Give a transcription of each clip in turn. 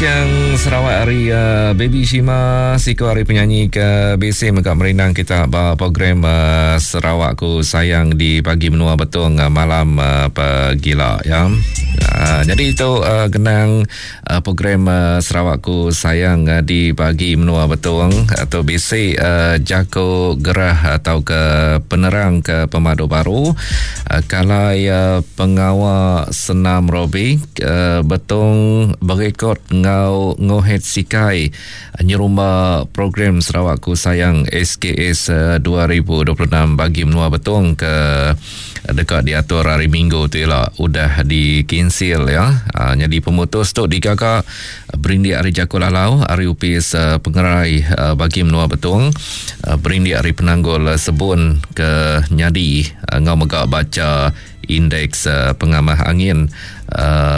Bujang Sarawak ari uh, Baby Shima siku ari penyanyi ke bisi mega merindang kita ba program uh, Sarawak ku sayang di pagi menua Betong uh, malam uh, pegila ya. Uh, jadi itu uh, genang uh, program uh, Sarawak ku sayang uh, di pagi menua Betong atau bisi uh, jako gerah atau ke penerang ke pemadu baru uh, kalai uh, pengawa senam robik Betong berekod enggau Ngohet Sikai nyerumba program Sarawak Ku Sayang SKS 2026 bagi menua Betong ke deka diatur hari Minggu tu ila udah dikinsil ya. Nyadi pemutus tu digaga berindik ari jaku lalau ari Opis Pengerai bagi menua Betong berindik ari penanggul sebun ke nyadi enggau mega bacha Indeks pengamah angin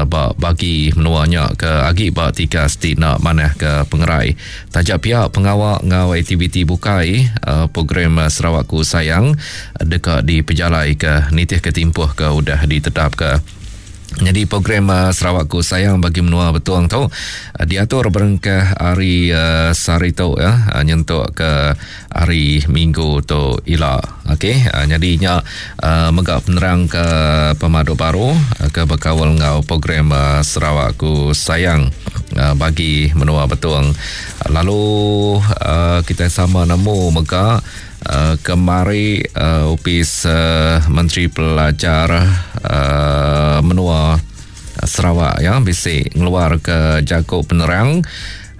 ba bagi menua nya ke agi ba tikas ti enda manah ke pengerai. Taja pia pengawa enggau aktiviti bukai program Sarawakku Sayang deka dipejalaika nitihka timpuh ke udah ditetapka. Nyadi program Sarawakku Sayang bagi menua Betong tu diatur berengkah hari sehari tu ya nyentuk ke hari minggu tu ila. Okey, nyadi nya mega penerang ke pemadu baru ke bekaul enggau program Sarawakku Sayang bagi menua Betong. Lalu kitai sama nemu mega kemari Opis Menteri Pelajar menua Sarawak ya bisi ngeluarka jaku penerang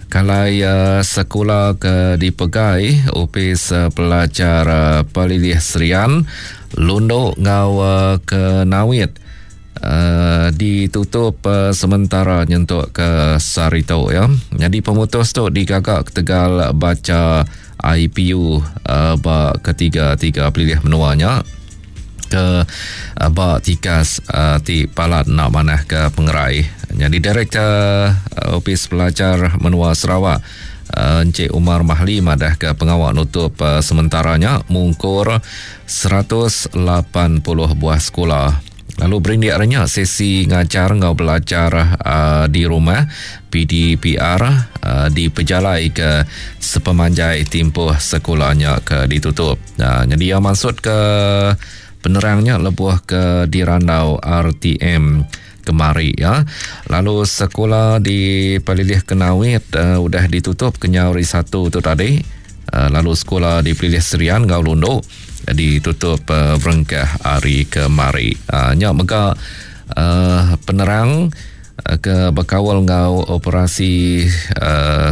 Kalai sekula ke dipegai Opis Pelajar Pelilih Serian, Lundu enggau Kenawit ditutup sementara nyentuk ke sehari tu ya. Nyadi pemutus tu digaga ketegal bacha IPU ba ketiga-tiga pelilih menua nya. ke ba tikas ti palat enda manah ke pengerai. Nyadi Direktor Opis Pelajar Menua Sarawak Encik Umar Mahli madah ke pengawa nutup sementara nya mungkur 180 buah sekula. Lalu berindik ari nya sesi ngajar enggau belajar di rumah PDPR dipejalai ke sepemanjai timpuh sekula nya ke ditutup. Nyadi iya mansut ke penerang nya lebuh ke dirandau RTM kemari ya. Lalu sekula di Pelilih Kenawit udah ditutup kenyau hari Satu tu tadi. Lalu sekula di Pelilih Serian enggau Lundu ditutup berengkah hari kemari. Nya mega penerang ke bekaul enggau operasi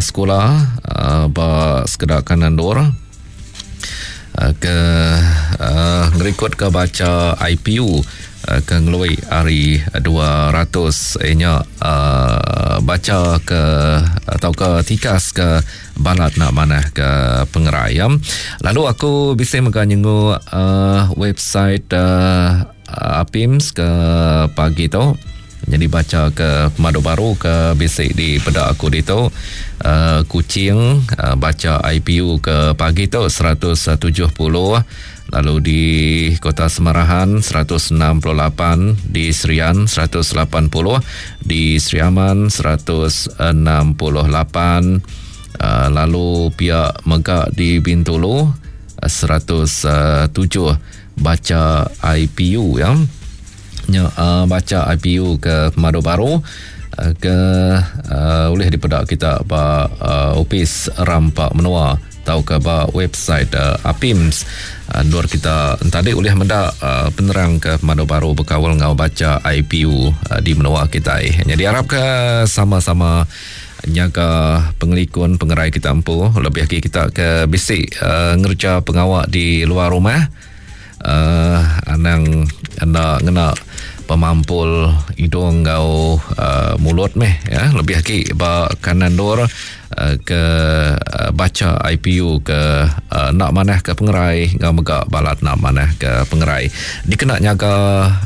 sekula ba sekeda kanan endur ke ngerikutka bacha IPU ke ngelui ari 200 nya bacha ke tauka tikas ke balat enda manah ke pengerai ya. Lalu aku bisi mega nyenguk uh, website uh, APIMS ke pagi tu. Jadi baca ke pemadu baru ke bisi di peda aku ditu. Uh, Kuching uh, baca IPU ke pagi tu 170 lalu di Kota Semarahan 168 di Serian 180 di Sri Aman 168 uh, lalu pia mega di Bintulu 107 baca IPU ya nya uh, baca IPU ke pemadu baru uh, ke uh, ulih dipeda kita ba uh, opis rampa menua tauka ba website uh, APIMS uh, endur kita entadi ulih meda uh, penerang ke pemadu baru bekaul enggau baca IPU uh, di menua kitai. Jadi arap ke sama-sama nyaga pengelikun pengerai kita empu lebih agi kita ke bisi uh, ngerja pengawa di luar rumah uh, anang enda ngena pemampul hidung enggau uh, mulut meh ya lebih agi ba kanan dur uh, ke uh, baca IPU ke uh, enda manah ke pengerai enggau mega balat enda manah ke pengerai dikena nyaga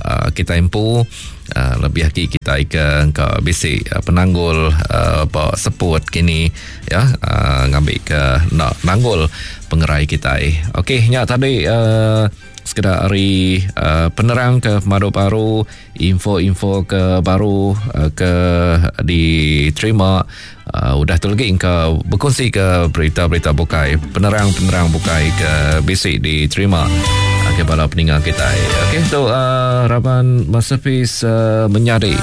uh, kita empu uh, lebih agi kita ke engka bisi uh, penanggul uh, ba seput kini ya uh, ngambi ke enda nanggul pengerai kitai. Okey, nya tadi uh, Sekeda ari uh, penerang ke pemadu baru, info-info ke baru uh, ke diterima uh, udah tu lagi engka berkongsi ke berita-berita bukai, penerang-penerang bukai ke bisi diterima. Okey bala peninga kita. Okey tu uh, raban Masterpiece uh, menyadi.